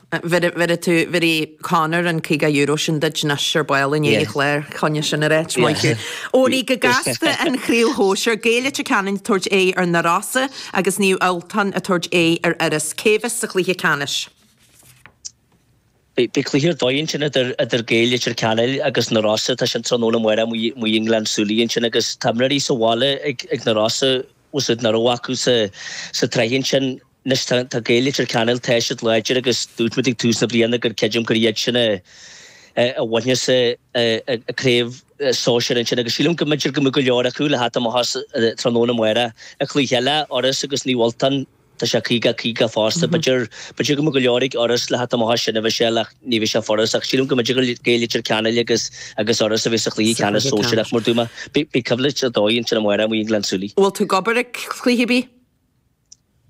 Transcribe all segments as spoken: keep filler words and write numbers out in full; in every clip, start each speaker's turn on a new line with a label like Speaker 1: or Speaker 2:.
Speaker 1: Bhéarfaidh tú bhéarfaidh Conor an caoga euro sin duit anois ar ball i ndiaidh an chláir choinne sin a ráit, maith thú. Owenie, go gasta an chraobh shóisir, Gaeil Leitir Ceanainn ag tabhairt aghaidh ar na Rosa agus Naomh Ultan ag tabhairt aghaidh ar Iorras. Cé bheas sa chluiche ceannais?
Speaker 2: Beidh cluiche ar dóigh ansin idir idir Gaeil Leitir Ceanainn agus na Rosa, tá sin tráthnóna amárach amuigh i nGleann tSúilí ansin agus tá imreoirí sa bhaile ag ag na Rosa bhfuil siad nach raibh acu sa sa tsraith ansin. Anois tá tá Gaeil Leitir Ceanainn tá siad láidir agus dúirt muid ag tús na bliana gur creidim gur iad sin a a bhainfeas a a craobh sóisir ansin agus sílim go mb'fhéidir go mbeadh go leor acu le theacht amach as tráthnóna amárach. An cluiche eile, Iorras agus Naomh Ultan, tá sé caoga caoga fosta. B'fhéidir b'fhéidir go mbeadh go leor ag Iorras le theacht amach as sin a Mhichelle ach ní bheidh sé furast ach sílim go mb'fhéidir gur Gaeil Leitir Ceanainn agus agus Iorras a bheidh sa chluiche ceannais sóisearach mar dúirt mé. Beidh beidh coimhlint ar dóigh ansin amárach amuigh i nGleann tSúilí.
Speaker 1: Bhfuil tú ag obair ag cluiche ar bith?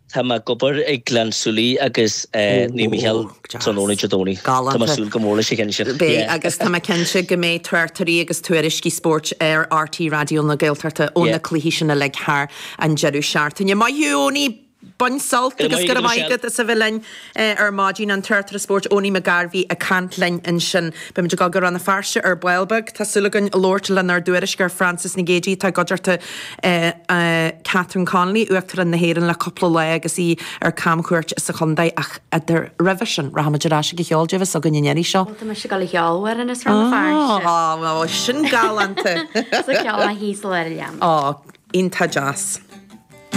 Speaker 2: Tá mé ag obair ag Gleann tSúilí agus Naomh Mícheál tráthnóna Dé Domhnaigh. Tá mé ag súil go mór leis an cheann sin.
Speaker 1: Beidh, agus tá mé cinnte go mbeidh tráchtairí agus tuairiscí spóirt ar RTÉ Raidió na Gaeltachta ó na cluichí sin uilig thar an deireadh seachtaine. Maith thú, Owenie! Bain sult agus go raibh maith agat as a bheith linn ar maidin. An tráchtaire spóirt Owenie Mac Gairbhí ag caint linn ansin. Beimid ag dul go Rann na Feirste ar ball beag. Tá súil againn labhairt lenár dtuairisceoir Frances Nic Géadaigh atá i gcuideachta Catherine Connolly, Uachtarán na hÉireann le cúpla lá agus í ar camchuairt sa chontae ach idir roimhe sin rachaimid ar ais ag an cheol Dé bheas againn an iarraidh seo.
Speaker 3: Bhuel tá mise ag dul a cheol amhrán as Rann na Feirste.
Speaker 1: Á, sin galánta!
Speaker 3: Sa cheol thíos le ar a leanbh.
Speaker 1: Á, iontach deas.